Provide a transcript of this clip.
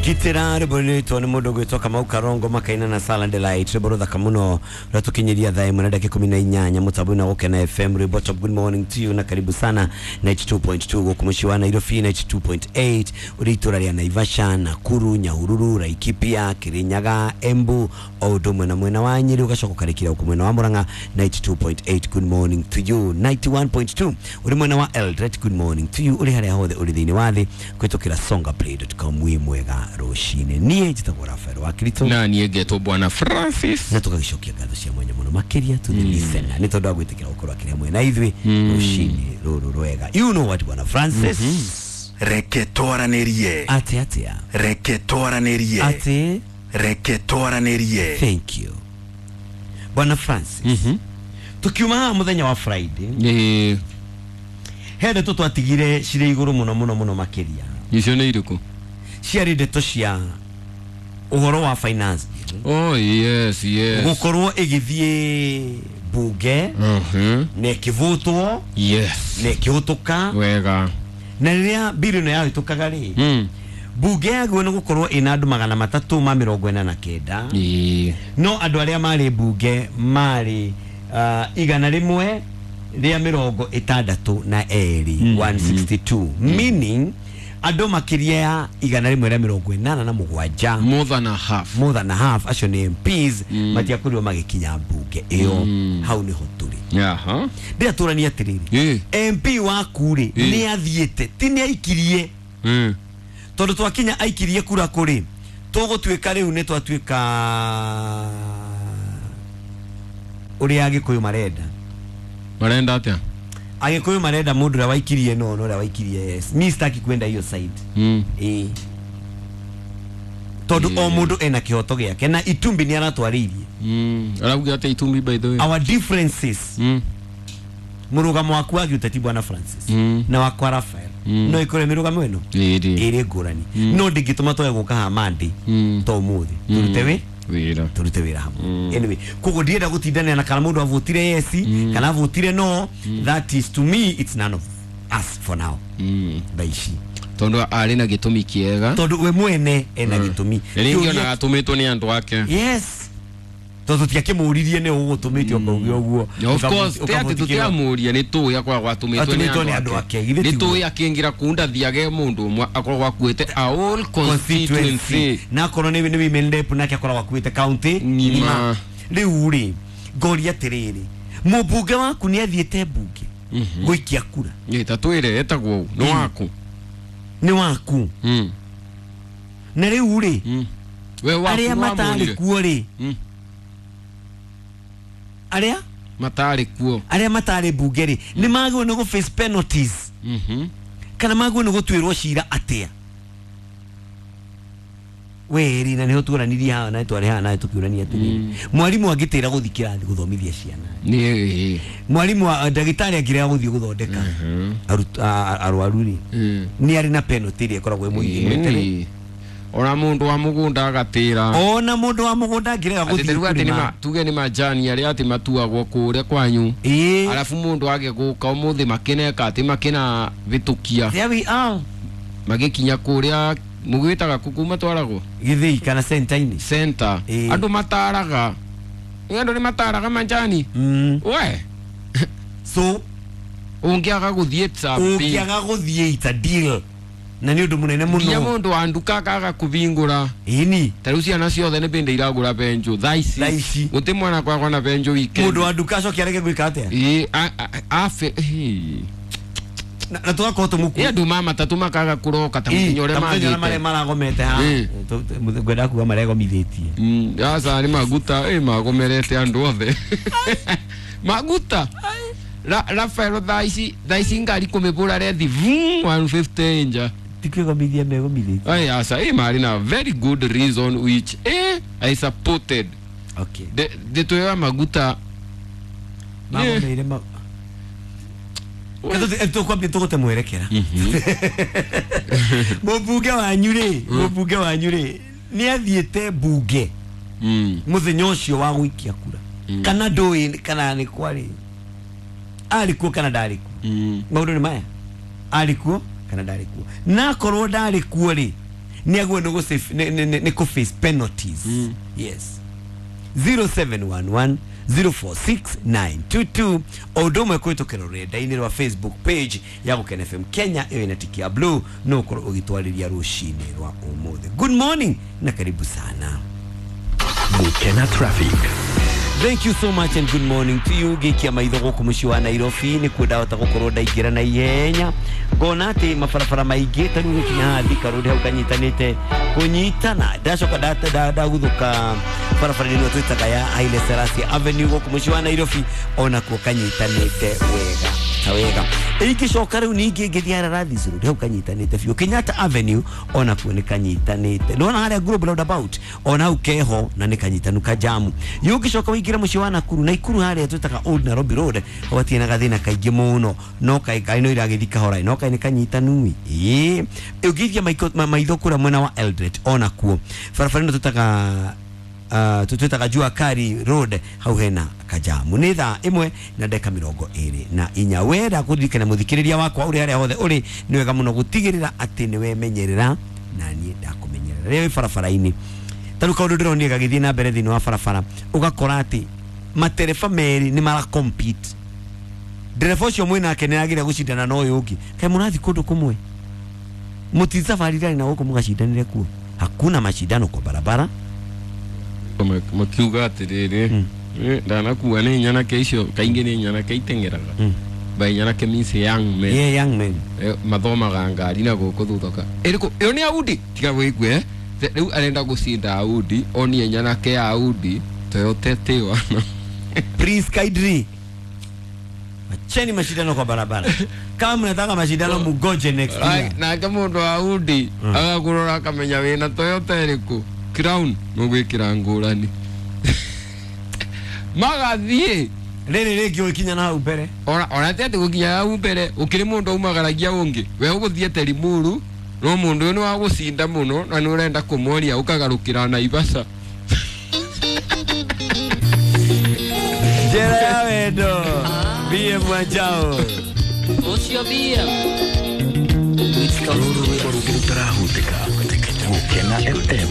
Gitira rwĩmbo nĩ mũndũ ũgwĩtwo Kamau Karongo makaina na Silent Delight, rwĩmbo rũthaka mũno rũratũkinyĩria thaa 1 na dakika 18 mũtambo-inĩ wa Gũkena FM. Rwĩmbo top. Good morning to you na karibu sana 92.2 gũkũ mũciĩ wa Nairobi, 92.8 ũrĩ itũra rĩa Naivasha, Nakuru, Nyahururu, Laikipia, Kirinyaga, Embu o ũndũ ũmwe na mwena wa Nyĩrĩ, ũgacoka ũkarĩkĩra gũkũ mwena wa Murang'a 92.8. Good morning to you. 91.2 ũrĩ mwena wa Eldoret. Good morning to you ũrĩ harĩa hothe ũrĩ thĩinĩ wa thĩ kũhĩtũkĩra songaplay.com. Wĩ mwega rũcinĩ. Niĩ njĩtagwo Rafael wa Kirito na niĩ ngetwo Bwana Francis, na tũgagĩcokia ngatho cia mwanya mũno makĩria to the listener nĩ tondũ wa gwĩtĩkĩra gũkorwo akĩrĩ hamwe na ithuĩ rũcinĩ rũrũ rwega. You know what, Bwana Francis? Reke twaranĩrie. Atĩ atĩa? Reke twaranĩrie. Atĩ? Reke twaranĩrie. Thank you, Bwana Francis. Tukiuma haha mũthenya wa Friday, he ndeto twatigire cirĩ igũrũ mũno mũno mũno makĩria. Icio nĩ irĩkũ? Ciarĩ ndeto cia ũhoro wa finance bill Oh yes. gũkorwo ĩgĩthiĩ bunge na ĩkĩvũtwo na ĩkĩhũtũka. Wega. Na rĩrĩa bill ĩno yahĩtũkaga rĩ, bunge yagĩrĩirwo nĩ gũkorwo ĩna andũ 349, no andũ arĩa marĩ bunge marĩ 162, 162, meaning andũ makĩria ya 187, More than a half. More than a half acio nĩ MPs, matiakorirwo magĩkinya mbunge ĩyo. Hau nĩho tũrĩ. Ndĩratũrania atĩrĩrĩ, MP waku rĩ, nĩ athiĩte, ti nĩ aikirie, tondũ twakinya aikirie kura kũrĩ tũgũtuĩka rĩu nĩ twatuĩka ũrĩa Agĩkũyũ marenda. Marenda atĩa? Agĩkũyũ marenda mũndũ ũrĩa waikirie no na ũrĩa waikirie yes. Mi sitaki kwenda hiyo side. Ĩĩ, tondũ o mũndũ ena kĩhoto gĩake na Itumbi nĩ aratwarĩirie. Arauga atĩa Itumbi, by the way? Our differences, mũrũgamo waku wa gĩũteti, Bwana Francis, na wakwa Rafael, no ĩkorwo mĩrũgamo ĩno ĩrĩ ngũrani, no ndĩngĩtũma twage gũka haha Monday to ũmũthĩ tũrute wĩ Wĩra. Tũrute wĩra hamwe. Anyway, koguo ndienda gũtindanĩra na kana mũndũ avotire yes kana avotire no. That is, to me it's none of us for now, thaa ici. Tondũ arĩ na gĩtũmi kĩega. Tondũ we mwene ena gĩtũmi. Na rĩngĩ ona atũmĩtwo nĩ andũ ake. Yes, tondũ tũtiakĩmũririe nĩ ũgũtũmĩte ũkauge ũguo. Of course, ti atĩ tũtiamũria, nĩ tũĩ akoragwo atũmĩtwo Atũmĩtwo nĩ nĩ andũ ake, githĩ nĩ tiguo? tũĩ akĩingĩra kũu ndathiage mũndũ ũmwe, akoragwo akuĩte a whole constituency. Na akorwo nĩ women rep nake akoragwo akuĩte county ng'ima. Rĩu rĩ, ngoria atĩrĩrĩ, mũmbunge waku nĩ athiĩte mbunge gũikia kura? Ĩ, ta twĩre etagwo ũ, nĩ waku? Nĩ waku. Na rĩu rĩ, We waku arĩa matarĩ wamwonire? kuo rĩ, arĩa matarĩ kuo. Arĩa matarĩ mbunge rĩ, nĩ magĩrĩirwo nĩ gũ face penalties kana magĩrĩirwo nĩ gũtuĩrwo cira atĩa? Weri na nĩho tuoranirie haha na twarĩ haha nawe tũkĩũrania atĩrĩrĩ, mwarimũ angĩtĩra gũthiĩ kĩrathi gũthomithia ciana, Nĩ mwarimũ ndagĩtarĩ angĩrega gũthiĩ gũthondeka arwaru rĩ, nĩ arĩ na penalty ĩrĩa ĩkoragwo ĩmũigĩte? Ona mũndũ wa mũgũnda agatĩra. Ona mũndũ wa mũgũnda angĩrega atĩ gũthiĩ tarĩu atĩ kũrĩma. Tuge nĩ majani arĩa atĩ matuagwo kũrĩa kwanyu, arabu mũndũ age gũka ũmũthĩ makineka atĩ makina vĩtũkia. There we are. Magĩkinya kũrĩa mũgwĩtaga kũu matwaragwo. Gĩthĩi kana center-inĩ. Center. Andũ mataraga, nĩ andũ nĩ mataraga majani. We. So ũngĩaga gũthiĩ, it's a big- ũngĩaga gũthiĩ, it's a deal na nĩ ũndũ mũnene nginya mũno. Mũndũ wa nduka akaga kũbingũra. Ĩni. Ta rĩu ciana ciothe nĩ bĩndĩ iragũra benjũ thaa ici. Thaa ici. Gũtĩ mwana kwakwa na benjũ weekend. Mũndũ wa nduka acoke arege gwĩka atĩa? Ĩ, abe ĩ. Na tũgakorwo tũmũku. Ĩ, andũ ma matatũ makaga kũroka ta mũthenya ũrĩa ta mũthenya ũrĩa marĩa magĩte. maragomete haha. Ngwenda kuga maregomithĩtie. Aca nĩ maguta ĩ magomerete andũ othe maguta. Rafael, thaa ici ngari kũmĩbũra rethi vum 150 nja. Ti kwĩgomithia megomithĩtie. Ai, aca ĩ marĩ na very good reason which I supported. Ndeto ya maguta. Magomeire ma tũkwambia tũgũte mwerekera. Mũmbunge wanyu rĩ nĩ athiĩte mbunge mũthenya ũcio wa gũikia kura kana ndũĩ kana nĩ kwarĩ arĩ kuo kana ndarĩ kuo? Maũndũ nĩ maya, arĩ kuo kana ndarĩ kuo? Na akorwo ndarĩ kuo rĩ, Nĩ agwo nĩ kũ face penalties. Yes. 0711 046922 o ũndũ ũmwe kũhĩtũkĩra rũrenda-inĩ rwa Facebook page ya Gũkena FM Kenya ĩyo ĩna tiki ya blue no ũkorwo ũgĩtwarĩria rũcinĩ rwa ũmũthĩ. Good morning na karibu sana. Gukena traffic. Thank you so much and good morning to you. Gĩkia maitho gũkũ mũciĩ wa Nairobi nĩkuo ndahota gũkorwo ndaingĩra na ihenya ngona atĩ mabarabara maingĩ ta rĩu gũkinya haha Thika Road hau kanyitanĩte kũnyitana ndacoka ndaguthũka barabara-inĩ ĩno twĩtaga ya Haile Selassie Avenue gũkũ mũciĩ wa Nairobi onakuo kanyitanĩte wega ta wega. Ingĩcoka rĩu ningĩ ngĩthiĩ Ararathis Road hau kanyitanĩte biũ. Kenyatta Avenue onakuo nĩ kanyitanĩte. Nĩwona harĩa Global Roundabout ona hau keho na nĩ kanyitanu kajamu. Yũngĩcoka wĩingĩre mũciĩ wa Nakuru Naikuru harĩa twĩtaga Old Nairobi Road hau hatirĩ na gathĩna kaingĩ mũno no kaĩ ngari no iragĩthiĩ kahora no kaĩ nĩ kanyitanu ĩ. Ũngĩithia maitho kũrĩa mwena wa Eldoret onakuo barabara ĩno twĩtaga twĩtaga Jua Kali Road hau hena kajamu. Nĩ thaa 1:24. Wenda kũririkana mũthikĩrĩria wakwa ũrĩ harĩa hothe ũrĩ nĩ wega mũno gũtigĩrĩra atĩ nĩ wemenyerera na niĩ ndakũmenyerera rĩrĩa wĩ barabara-inĩ. Ta rĩu kaũndũ ndĩronire gagĩthiĩ na mbere thĩinĩ wa barabara ũgakora atĩ matereba merĩ nĩ mara compete. Ndereba ũcio mwĩnake nĩ arageria gũcindana na ũyũ ũngĩ. Kaĩ mũrathiĩ kũndũ kũmwe mũticabarire na gũkũ mũgacindanĩre kuo. Hakuna mashindano kwa barabara. Makiuga atiriri ndanakua nĩ nyanake icio kaingĩ nĩ nyanake iteng'eraga by nyanake means young men. Yeah, young men mathomaga ngari na gũkũ thutha ĩrĩkũ ĩyo nĩ Audi tiga wĩigue rĩu arenda gũcinda Audi onie nyanake ya Audi Toyota T1. Please kindly acheni mashindano kwa barabara. Kama mnataka mashindano mugoje next year. Nake mũndũ wa Audi agakũrora akamenya wĩna Toyota ĩrĩkũ Crown mũgwĩkĩra ngũrani magathiĩ rĩrĩ rĩngĩ ũgĩkinya na hau mbere ona ti atĩ gũkinya hau mbere ũkĩrĩ mũndũ aumagaragia ũngĩ we ũgũthiĩte Limuru no mũndũ ũyũ nĩ wa gũcinda mũno na nĩ ũrenda kũmwonia ũkagarũkĩra Naivasha. Njĩra ya wendo BM Wanjao ũcio BM Rũrũ rwĩmbo rũngĩ rũtarahutĩka Gukena FM.